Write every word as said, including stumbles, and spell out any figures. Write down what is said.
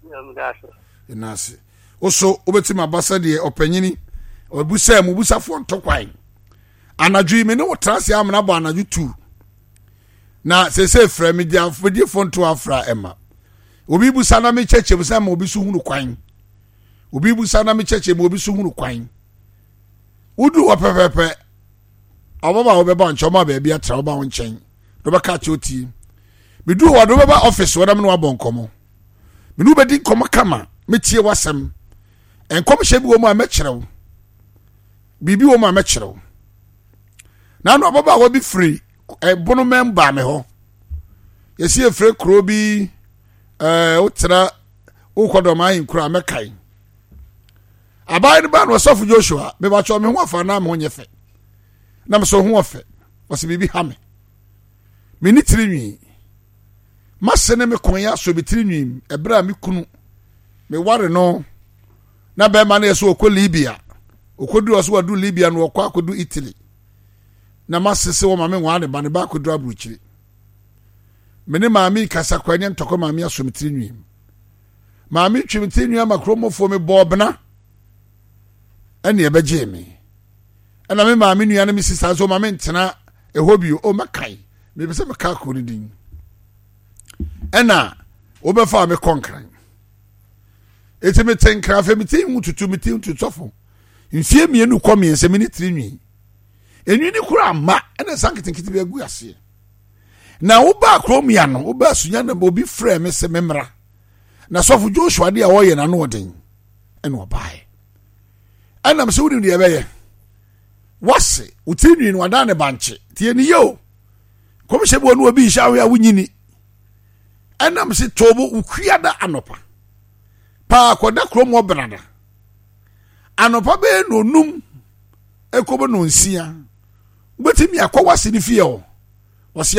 Yɛna ase. Wo so wobɛtumi aba sɛdeɛ ɔpanyini ɔbusaa mu busafoɔ nto kwan. Anadwo yi me ne wo tena ase amena bɔ anadwo tu. Na seesei frɛ me mediefoɔ nto afra ɛma. Obi busa na mekyɛkyɛ mu sɛ ma obi so hunu kwan. Obi busa na mekyɛkyɛ mu obi so hunu kwan. Wodu hɔ pɛpɛpɛ ɔbɛba a wobɛba nkyɛn ɔma baabi atra ɔba wo nkyɛn na ɔbɛka akyerɛ otie. Medu hɔ de wobɛba ɔfis hɔ na me ne wabɔ nkɔmmɔ. Me ne wobɛdi nkɔmmɔ kama metie w'asɛm. Nkɔmhyɛ bi wɔ mu a mɛkyerɛ wo. Biribi wɔ mu a mɛkyerɛ wo. Na ano ababaawa bi firi ɛbonomɛm baa me hɔ. Yɛsi efiri kuro bi ɛɛ wotra wokɔ dɔm ahenkuro a mɛkae. Aban no baa no ɔsɔfo Joshua mebakyɛ me ho afa na me ho nyɛ fɛ. Na me so ho ɔfɛ. Ɔsɛ biribi ha me. Me ne tiri nwi. Mase ne me kɔn yɛ asɔ me tiri nwi ɛberɛ a me kunu me ware no na bɛrima no yɛ sɛ ɔkɔ Libya. Ɔkɔduru ɔsɛ wadu Libya no ɔkɔ akɔdu Italy. Na mase sɛ wɔma me nwaa ne ba ne ba akɔduru aburokyire. Me ne maame kasa kɔ ɛnyɛ ntɔkwa maame asɔ me tiri nwi. Maame twe me tiri nwi ama kuromfoɔ me bɔɔ bena ɛne ɛbɛgyee me. Ɛna me maame nua ne me sista nso maame ntena ɛhɔ bio. O mɛkae mepɛ sɛ meka kuro no din. Ɛna wobɛfa me kɔ Nkran. Eti mete Nkran afei mete mu tutu mete mu tutu sɔfo. Mfie mmienu kɔ mmiɛnsa mi ne tiri nwi. Enwi ne kura ama ɛna nsa nketenkete bi agu aseɛ. Na wobaa kurom ya no wobaa sunya na obi frɛ me sɛ memmra. Na sɔfo Joshua de a ɔyɛ n'ano ɔden ɛna ɔbaeɛ. Ɛnam sɛ wonim deɛ ɛbɛyɛ. Wase wo tiri nwi no wadan ne bankye. Tie ne yie o. Kɔmhyɛ bi wɔ no obi nhyɛ ahwɛ a wonyini. Ɛnam sɛ toobo wokua da anɔpa. Paa kɔda kurom wɔ benada. Anɔpa bɛyɛ nonum ɛkɔbɔ nonsia. Wobɛtumi akɔ wase ne fie hɔ. Wɔse